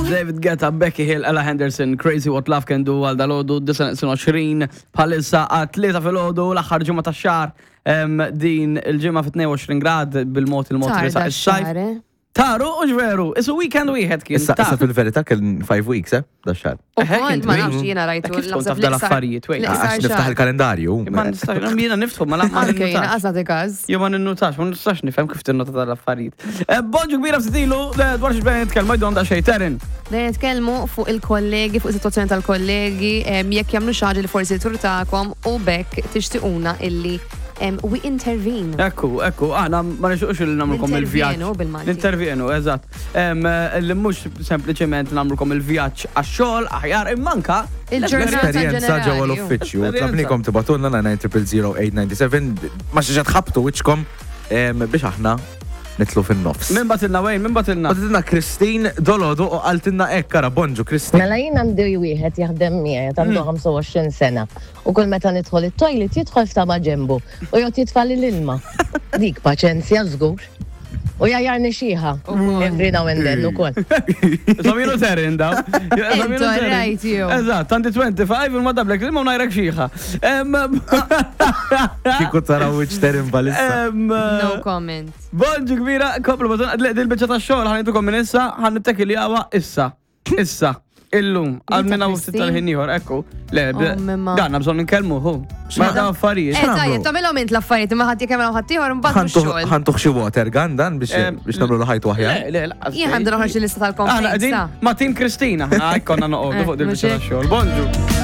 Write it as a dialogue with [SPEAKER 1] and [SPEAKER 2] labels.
[SPEAKER 1] David Guetta, Becky Hill, Ella Henderson, Crazy What Love Can Do għal dalodu, 29 bħalissa għat-tlieta filgħodu l-aħħar ġimgħa tax-xahar din il-ġimgħa fi 22 grad bil-mod il-mod
[SPEAKER 2] Tar
[SPEAKER 1] risa is-sajf.
[SPEAKER 2] dax-xahar, eh?
[SPEAKER 1] Taru u ġveru, isu weekend wieħed kien.
[SPEAKER 3] Issa issa fil-verità kien 5 weeks, eh, da xahar.
[SPEAKER 2] U
[SPEAKER 1] Eħe,
[SPEAKER 2] kont
[SPEAKER 1] kien
[SPEAKER 2] ma
[SPEAKER 1] twil.
[SPEAKER 2] nafx jiena rajtu.
[SPEAKER 1] Eh, Kif tkun
[SPEAKER 2] naħseb
[SPEAKER 1] taf
[SPEAKER 2] l-iqsar-
[SPEAKER 1] dal-affarijiet, wait.
[SPEAKER 2] l-iqsar
[SPEAKER 3] Għax niftaħ
[SPEAKER 2] xahar.
[SPEAKER 3] il-kalendarju.
[SPEAKER 1] Ma nistax, jiena niftħu, ma la- ma
[SPEAKER 2] Anke jiena
[SPEAKER 1] ninnutax.
[SPEAKER 2] qas nagħti każ.
[SPEAKER 1] Jo ma ninnutax, ma nistax nifhem kif tinnota tal-affarijiet. Eh, Bonġu kbira ftit ilu, eh, dwar xi bejn nitkellmu jdu għandha xejn Terin.
[SPEAKER 2] Dejjem nitkellmu fuq il-kollegi, fuq is-sitwazzjoni tal-kollegi, em, jekk jagħmlu xi ħaġa li forsi turtakom u bekk tixtiquna illi em, we intervene.
[SPEAKER 1] Ekku, ekku, aħna ma nixuqx li nagħmlukom il-vjaġġ.
[SPEAKER 2] Nintervjenu bil-Malti.
[SPEAKER 1] Nintervjenu, eżatt. Em, eh, Li mhux sempliċement nagħmlukom il-vjaġġ għax-xogħol aħjar immanka
[SPEAKER 2] Il-ġurnata
[SPEAKER 3] Esperjenza ġewwa
[SPEAKER 2] ġenerali.
[SPEAKER 3] l-uffiċċju.
[SPEAKER 1] Esperjenza.
[SPEAKER 3] Tlabnikom tibatulna 9000897 ma xi ħabtu wiċċkom em, biex aħna nitlu fin-nofs.
[SPEAKER 1] Min batilna wejn, min batilna.
[SPEAKER 3] Batilna Christine Dolodu u qaltilna hekk kara bonġu Christine.
[SPEAKER 4] Mela jien għandi wieħed jaħdem miegħi għandu 25 sena u kull meta nidħol it-toilet jidħol f'tama ġembu u jgħod jitfali l-ilma. Dik paċenzja żgur. U jgħajarni xieħa every now and then ukoll.
[SPEAKER 1] Samilu Terin daw.
[SPEAKER 2] Intu right, you.
[SPEAKER 1] Eżatt, għandi 25 il madablek li ma najrek xieħa. Em,
[SPEAKER 3] Kieku taraw wiċċ Terin balissa.
[SPEAKER 1] em,
[SPEAKER 2] No comment.
[SPEAKER 1] Bonġu kbira, koplu baton, dil-bicċa ta' xogħol ħanitukom minn issa, ħan nittekiljawa issa. Issa. Illum, għal minna u ftit tal-ħin ieħor, ekku. Le,
[SPEAKER 2] Oh, mimma.
[SPEAKER 1] għandna bżonn nkellmu hu. Ma da affarijiet.
[SPEAKER 2] Eh, tajjeb, tagħmilhom int l-affarijiet imma ħadd jekk jagħmilhom ħadd ieħor imbagħad mhux xogħol.
[SPEAKER 3] Ħantuħ xi water gun dan biex
[SPEAKER 1] Em,
[SPEAKER 3] biex nagħmlu ħajtu aħjar.
[SPEAKER 1] Le, le, laqas.
[SPEAKER 2] Jien ħabda noħroġ il-lista
[SPEAKER 1] Aħna
[SPEAKER 2] tal-complaints.
[SPEAKER 1] qegħdin
[SPEAKER 2] ta.
[SPEAKER 1] ma' Team Kristina, aħna konna noqogħdu
[SPEAKER 2] Eh,
[SPEAKER 1] fuq dil-biċċa
[SPEAKER 2] mhux hekk?
[SPEAKER 1] tax-xogħol. Bonġu.